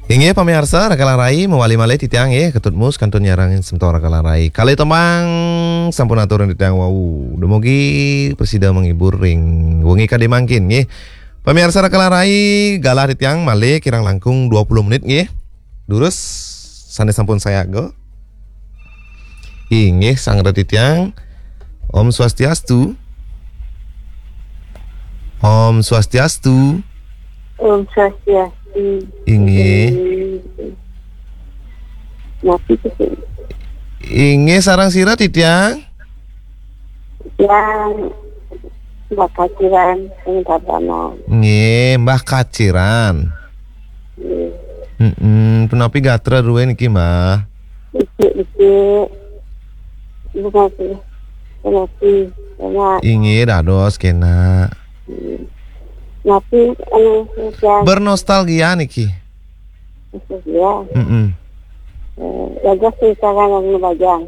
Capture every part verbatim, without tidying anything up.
Inggih pamiarsa, rakalan rai mawali malih titiang nggih, Ketut Mus kantun nyarengin semeton rakalan rai. Kalih tembang sampun aturang titiang wau. Dumugi prasida menghibur ring wengi kadi mangkin nggih. Pamiarsa rakalan rai, galah titiang malih kirang langkung dua puluh menit nggih. Durus sane sampun sayaga. Inggih, sang titiang. Om Swastiastu. Om Swastiastu. Om Swastiastu. Inggih. Inggih. Napi tu? Inggih, sareng sira titiang? Yang bakaciran sing tabanan. Nggih, Mbah Kaciran. Nggih. Mm-mm. Punapi gatra druwe niki, Mbah? Becik-becik. Bunga sih. Bunga sih. Bunga. Inggih, dados kena. Hmm. Napi anu, ya. Bernostalgia niki. Nostalgia. Mm-mm. Eh, dados sing sareng anu bajang.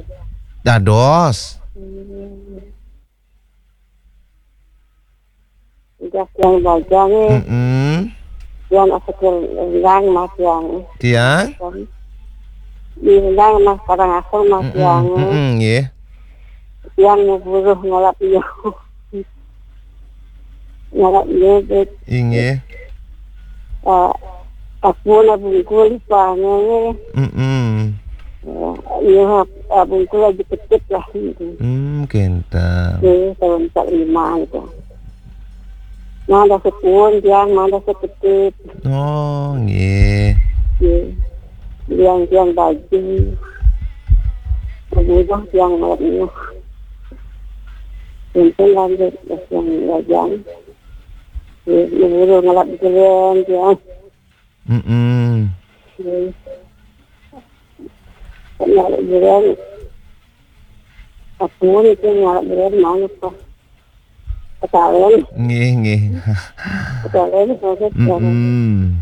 Dados. Hmm. Udah tiang bajang, eh. Mm-mm. Tiang asa tiang rendang mah tiang. Tiang? Di rendang mah kadang asal mah tiang, eh. Mm-mm, nggih. Tiang mau buruh ngalap iya. Ngalap iya, bet. Inggih. Eh, aku na bungkul pangange. Mm-mm. Ya, iya, eh, bungkul aja kecil lah gitu. Hmm, kenten. Iya, tahun empat lima gitu. Mada sepuhun tiang, mada seketip. Oh, nggih. Nggih. Tiang-tiang baju. Kemudian tiang malam ini. Untung lanjut, tiang bajang. Nggih, nggih, ngalap jalan tiang. Mm-mm. Nggih. Ngalap jalan. Aku ni tu ngalap jalan mana kah? Petalen. Nggih, nggih. Petalen, maksud, mm-mm.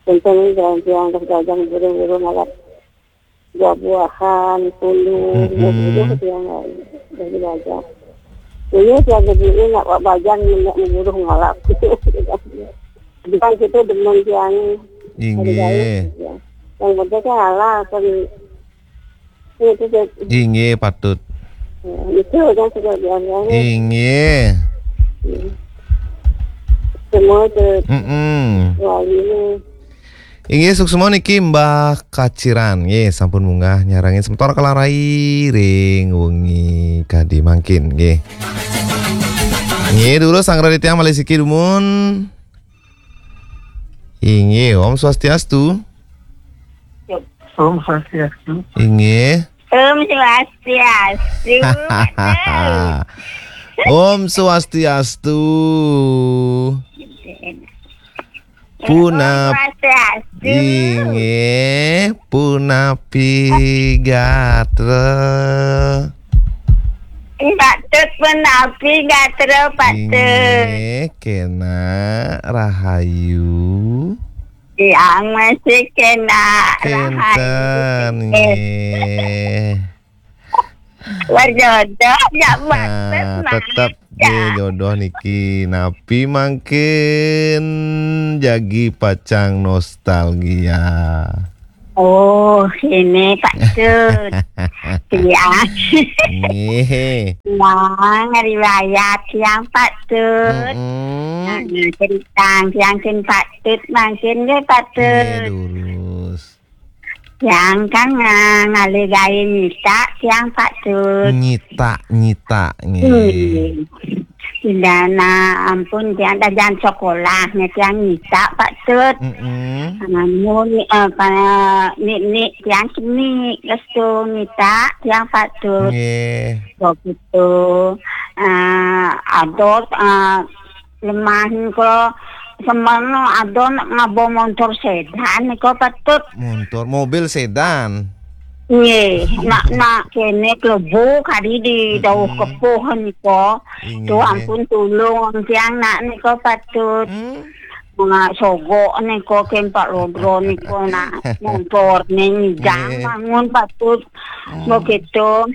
Tentang jalan-jalan terus dagang burung-burung alat buah-buahan, pundung, mm-mm, burung yang dari dagang. Ini tiang gede nak buat bajang nak burung ngalap. Bukan kita demen tiang. Inggih. Yang penting kan halal kan. Itu, itu. Inggih, patut. Ya, itu kan sudah biasa. Inggih. Ya. Semua itu. Mm-mm. Wah, ini. Inggih, suksma niki Mbah Kaciran. Nggih, sampun munggah nyarengin semeton rakalan rai ring wengi kadi mangkin, nggih. Nggih, durus sang titiang malih siki dumun. Inggih, Om Swastiastu. Om Swastiastu. Inggih. Om Swastiastu. Om Swastiastu. Punap-, Om Swastiastu. Inggih, punapi gatra? Patut punapi gatra, patut. Inggih, kena rahayu. Tiang masih kena rahayu. Kenten, nggih. Berjodoh, ya, nah, patut, tetep, Mas. Nggih, jodoh niki. Napi mangkin jagi pacang nostalgia? Oh, ini patut. Tiang. Nggih. Nah, ngeriwayat tiang patut. Mm-mm. Nah, cerita tiang kin patut, mangkin nggih patut. Nggih, durus. Tiang kan nga-, ngalih gawe nyita, tiang patut. Nyita, nyita, nggih. Nggih. Pindana ampun tiang dajan sekolah, nih tiang nyita patut. Mm-mm. Amun, eh, pa-, nik-nik tiang seni, restu nyita tiang patut. Nggih. Begitu. Eh, adot, eh, lemah nika semana ada nak ngaba montor sedan nika patut. Montor, mobil sedan. Nggih, nak, nak kene klebu kadi di dauh kepuh nika. Inggih. Tu ampun tulung tiang nak nika patut. Hmm. Nak sogok nika ken Pak Lodro nika nak montor ne ngidang. Nggih. Bangun patut. Hmm. Begitu.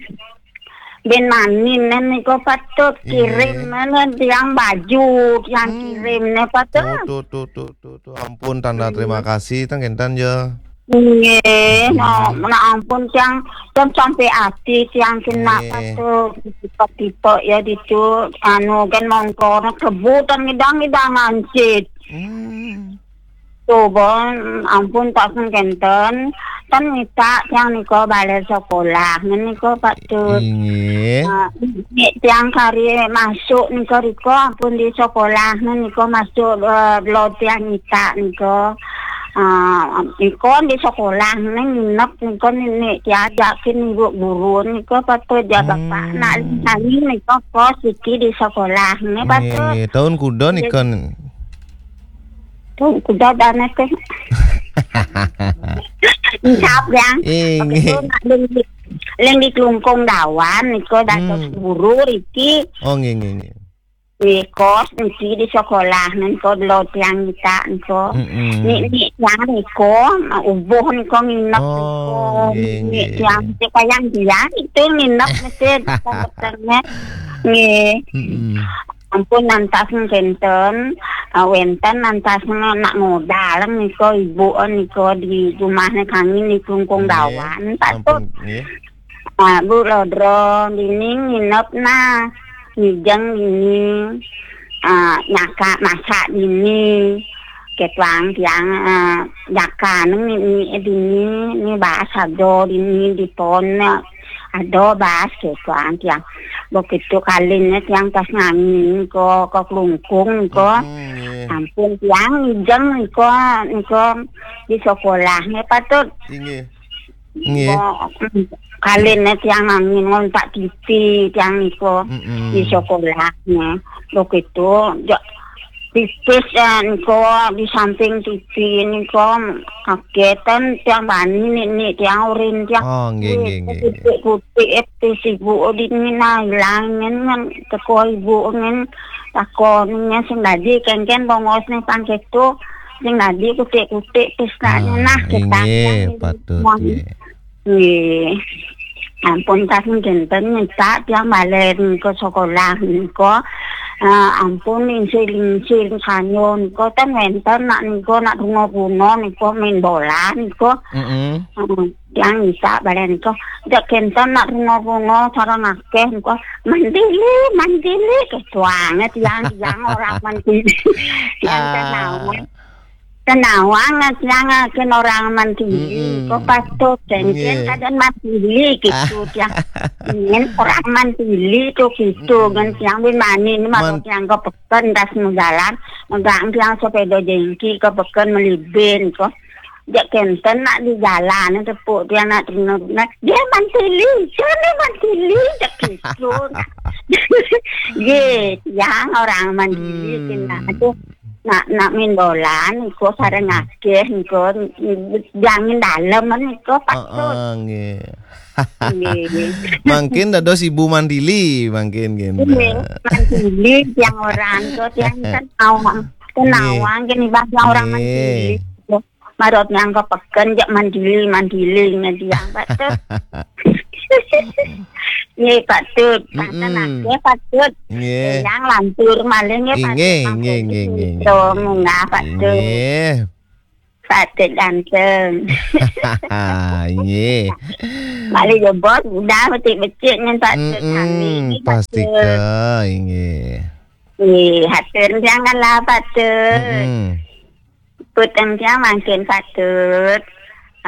Ben mani nika patut. Inggih. Kirim nika tiang baju, tiang Hmm. kirim nika patut. Tuh, tuh, tuh, tuh, tuh, tuh. Ampun, tanda Hmm. terima kasih, tang kinten ya. Nggih, Hmm. nah, nah ampun tiang, tiang sampai ati tiang kena Nggih. patut. Tipe-tipe ya ditu, anu kan mongkor, kebu tang ngidang-ngidang ancit. Hmm. Coba, ampun, tak sengkenten. Kan minta tiang nika balik sekolah, nika patut. Inggih. Ah, nek tiang kari masuk nika riko, ampun, di sekolah nika masuk, eh, lo tiang minta nika. Ah, nika di sekolah nika nginep nika nek tiang ajakin ibu guru nika patut ya bapak. Hmm. Nak lintani nika kos iki di sekolah nika patut. Nggih, tahun kuda nika? Tuh, kuda dana teh. Insap, Yang. Inggih. Waktu itu nak ling di, ling di Klungkung Dawan, niko dados Hmm. guru iki. Oh, nggih, nggih, nggih. Di kos niki di sekolah, niko lo tiang minta niko. Mm-mm. Nik, nik tiang niko, ubuh niko nginep Oh, niko. Nggih, Nik nggih. Tiang niki kayang dia itu nginep mesti di sana. Nggih. Mm-mm. Ampun, nantas kenten, ah, wenten nantas nak ngodal nika ibu nika di rumahnya kami di Klungkung Nggih. Dawan. Patut. Ampun, nggih. Ah, Bu Lodro, dini nginep nah, ngijeng dini, ah, nyaka masak dini, ketuang tiang, ah, nyaka neng ni dini, ni bahas ado dini di pon, ado bahas ketuang tiang. Begitu kalinnya tiang pas ngangin ke, ke Klungkung ke. Hmm, nggih. Ampun tiang ngijeng niko, niko di sekolahnya patut. Inggih. Nggih. Mo-, kalinnya tiang angin ngontak T V, tiang niko Mm-mm. di sekolahnya. Begitu, jo, pipis, eh, niko di samping T V niko, kagetan tiang bani nik, nik tiang urin tiang. Oh, nggih, nggih, nggih, nggih. Kutik-kutik, eh, pipis ibu di mina ilang ngen, ngen, teko ibu ngen, takon ngen sing dadi kengken bongos nih pangketu. Sing dadi kutik-kutik pistanya Ah, nah, inggih, kita patut, nggih. Nggih. Ampun, tas kinten minta tiang balen ke sekolah niko. Ah, ampun, lingsir-lingsir sanyo niko, ten wenten nak niko, nak bunga-bunga niko, main bola niko. Mm-mm. Hmm, tiang minta balen niko. Jak kenten nak bunga-bunga, sarang akeh niko. Mandili, mandili, ketuange tiang, tiang orang mandili. Tiang Ah. Tenawang. Tenawang, tiang, ah, ken orang mandili. Mm-mm. Kok patut, ken, ken Nggih. Kadang mandili gitu, Ah. Tiang. Ken orang mandili tuh gitu, Mm-mm. Kan tiang bin mani, ini mah Man- tiang ke peken, tas mau jalan, megang tiang sepeda jengki ke peken melibin, kok. Jak kenten nak di jalan, tepuk tiang nak terima, dia mandili, dia mandili, jak gitu. Nggih, tiang orang mandili, Hmm. Tina. Aduh, nak, nak main bola niko sareng akeh niko, jangin dalem niko patut. Heeh, nggih. Nggih. Mangkin dados ibu mandili, mangkin nggih, Nggih, Mbak. Mandili tiang orang niko, tiang kan awang, kan Nggih. Awang gini, Bang, tiang orang Nggih. Mandili. Marot nyangka peken, jak mandili, mandili, nggih, tiang patut. Nggih, patut. Tangsen Mm-mm. Akeh, patut. Nggih. Yang lantur malih nggih, patut. Inggih, inggih, mangkene inggih, inggih, gitu, inggih. Munggah, patut. Inggih. Patut ganteng. Inggih. Malih jebot, udah becik-becik nyen patut. Mm-mm, sami, patut. Pastika, inggih. Nggih, hatur janganlah patut. Mm-mm. Puteng tiang mangkin patut.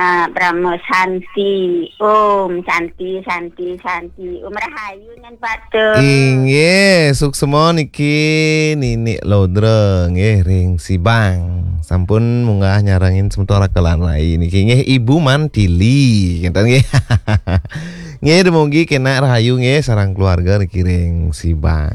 Ah, Brahma Santi, Om Santi, Santi, Santi, Om Rahayu nyen patut. Inggih, suksema niki Ninik Lodra nggih ring Sibang. Sampun munggah nyarengin semeton rakelan rai niki nggih Ibu Mantili, kinten nggih. Nggih, dumugi kenak rahayu nggih sareng keluarga niki ring Sibang.